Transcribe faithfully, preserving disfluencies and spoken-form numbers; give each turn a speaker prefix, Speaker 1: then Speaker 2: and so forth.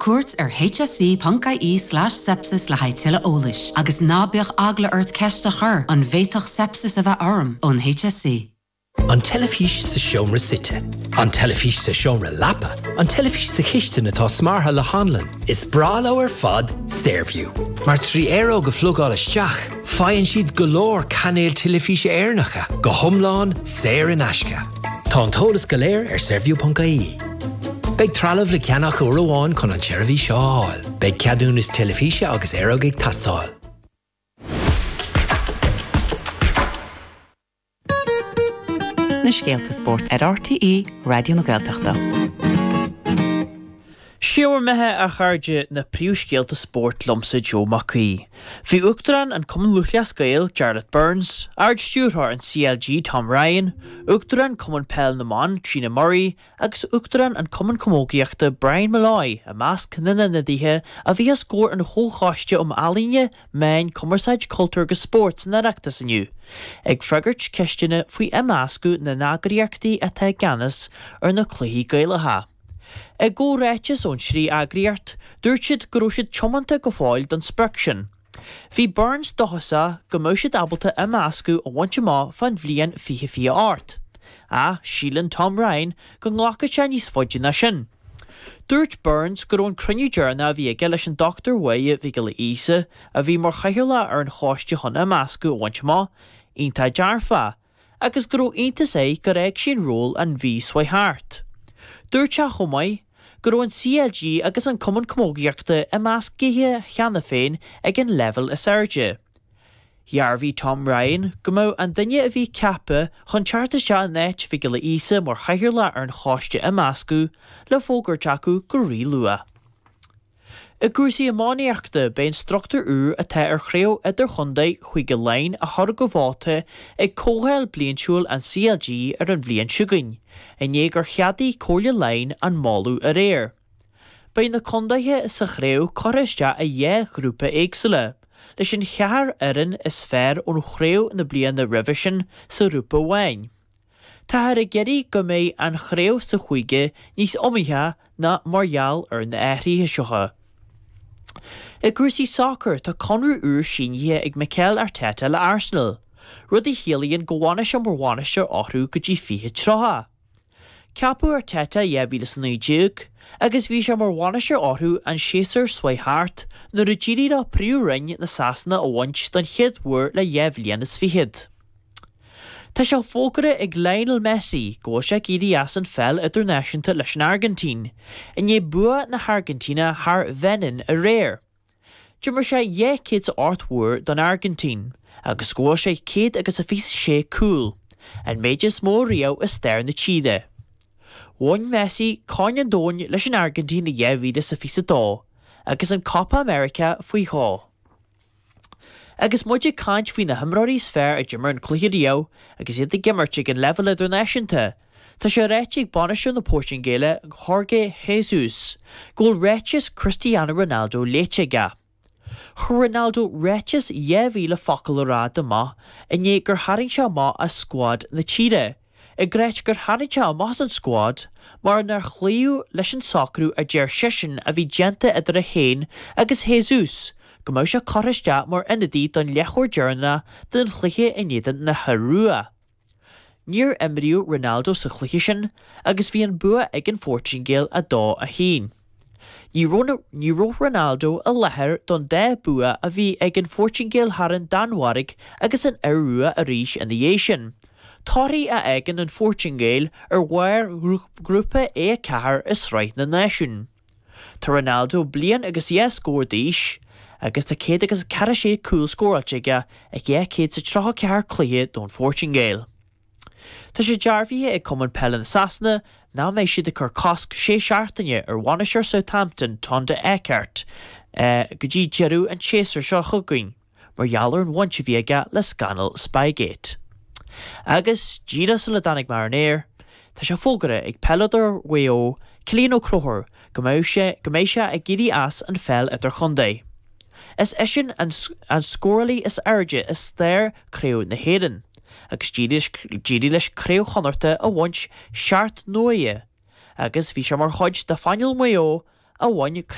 Speaker 1: cuairt ar hse.ie slash sepsis le haghaidh tuilleadh eolais, agus ná bíodh eagla ort ceist a chur an bhféadfadh sepsis a bheith orm ón HSE.
Speaker 2: An teilifís sa seomra suite. An teilifís sa seomra leapa, an teilifís sa chistin atá smeartha le hanlann. Is breá leo ar fad Saorview. Mar trí aeróg a phlugáil isteach, faigheann siad go leor cainéil teilifíse Éireannacha go hiomlán saor in aisce. Tá an t-eolas go léir ar saorview.ie. Beidh trealamh le ceannach uair amháin chun an tseirbhís seo a fháil, Beidh ceadúnas teilifíse agus aeróg ag teastáil.
Speaker 3: Na scéalta spóirt ar RTÉ Raidió na Gaeltachta.
Speaker 4: Sé bhur mbeatha a chairde na príomhscéalta spóirt liomsa Joe Mac Aoidh. Bhí Uachtarán an Cumann Lúthchleas Gael, Jarlath Burns, Ard-Stiúrthóir an CLG Tom Ryan, Uachtarán Cumann Peil na mBan, Trina Murray, agus Uachtarán an Cumann Camógaíochta Brian Molloy i measc na n-ionadaithe a bhí os comhair an Chomhchoiste um Ealaíona, Meáin, Cumarsáid, Cultúr agus Spórt san Oireachtas inniu, ag freagairt ceisteanna faoi imeascadh na n-eagraíochtaí atá i gceannas ar na cluichí Gaelacha. I gcomhráiteas ón trí eagraíocht, dúirt siad go raibh siad tiomanta go fóill don sprioc sin. Bhí Burns dóchasach go mbeadh siad ábalta imeascadh a bhaint amach fán bhliain fiche fiche ocht, ach síleann Tom Ryan go nglacfaidh sé níos faide ná sin. Dúirt Burns go raibh an cruinniú deireanach a bhí aige leis an Dochtúir Mháire Mhic Giolla Íosa, a bhí mar chathaoirleach ar an choiste chun imeascadh a bhaint amach, iontach dearfach, agus go raibh iontas air gur fhág sí an ról an mhí seo thart. Dúirt sé chomh maith go raibh an CLG agus an Cumann Camógaíochta imeasctha cheana féin ag an leibhéal is airde. Dhearbhaigh Tom Ryan go mbeadh an duine a bhí ceaptha chun teacht isteach in áit Mhic Giolla Íosa mar chathaoirleach ar an choiste imeascadh le fógairt acu go rí-luath. I gcúrsaí iománaíochta, beidh an struchtúr úr atá ar chraobh idirchontae Chúige Laighean á chur go vóta ag comhdháil bliantúil an CLG ar an bhliain seo chugainn, i ndiaidh gur cheadaigh Comhairle Laighean an moladh aréir. Beidh na contaetha sa chraobh curtha isteach i dhá ghrúpa éagsúla, leis an cheathair fhoireann is fearr ón chraobh na bliana roimhe sin sa ghrúpa amháin. Táthar ag iarraidh go mbeidh an chraobh sa chúige níos iomaíche ná mar gheall ar na hathruithe seo. I gcúrsaí sacair, tá conradh úr sínithe ag Mikel Arteta le Arsenal, rud a chiallaíonn go bhfanfaidh sé mar bhainisteoir orthu go dtí fiche tríocha. Ceapadh Arteta i dhá mhíle is a naoi déag agus bhí sé mar bhainisteoir orthu an séasúr seo thart nuair a d'éirigh leo Príomhroinn na Sasana a bhaint don chéad uair le dhá bhliain is fichead. Tá sé fógartha ag Lionel Messi go bhfuil sé ag éirí as an pheil idirnáisiúnta leis an Airgintín, i ndiaidh bua na hAirgintíne thar Bheinin aréir. D'imir sé dhá chéad is a ocht uair don Airgintín agus scóráil sé céad agus a fiche sé cúl, an méid is mó riamh i stair na tíre. Bhain Messi Corn an Domhain leis an Airgintín i dhá mhíle is a fiche a dó agus an Copa America faoi dhó. Agus muid ag caint faoi na himreoirí is fearr a d'imir an cluiche riamh agus iad ag imirt ag an leibhéal idirnáisiúnta, tá sé ráite ag bainisteoir na Portaingéile, Jorge Jesus, go bhfuil ráiteas Cristiano Ronaldo léite aige. Chuir Ronaldo ráiteas dhá mhíle focal ar fad amach i ndiaidh gur tharraing sé amach as scuad na tíre, ag ráit gur tharraing sé amach as an scuad mar nár chloíodh leis an socrú a deir seisean a bhí déanta idir é féin agus Jesus go mbeadh sé curtha isteach mar ionadaí don leathuair deireanach den chluiche in éadan na hIorua. Níor imríodh Ronaldo sa chluiche sin agus bhí an bua ag an Phortaingéil a dó a haon. Ní raibh ní raibh Ronaldo i láthair don dá bua a bhí ag an Phortaingéil thar an Danmhairg agus an Iorua arís ina dhiaidh sin, torthaí a fhágann an Phortaingéil ar bharr ghrúpa A a ceathair i Sraith na Náisiún. Tá Ronaldo bliain agus dhá scór d'aois agus tá céad agus ceathracha sé cúl scóráilte aige i dhá chéad is tríocha ceathair cluiche don Phortaingéil. Tá sé dearbhaithe ag Cumann Peile na Sasana nach mbeidh siad ag cur cosc sé seachtaine ar bhainisteoir Southampton Tonda Eckert go dtí deireadh an tséasúir seo chugainn mar gheall ar an bhaint a bhí aige le scannal Spygate. Agus díreach sula dtáinig mé ar an aer, tá sé fógartha ag peileadóir Mhaigh Eo, Cillian Ó Conchúir, go mbeidh sé go mbeidh sé ag éirí as an pheil idirchontae. Is eisean an an scórálaí is airde i stair Craobh na hÉireann, agus d'éirigh leis Craobh Chonnachta a bhaint seacht n-uaire, agus bhí sé mar chuid de phainéal Mhaigh Eo a bhain Craobh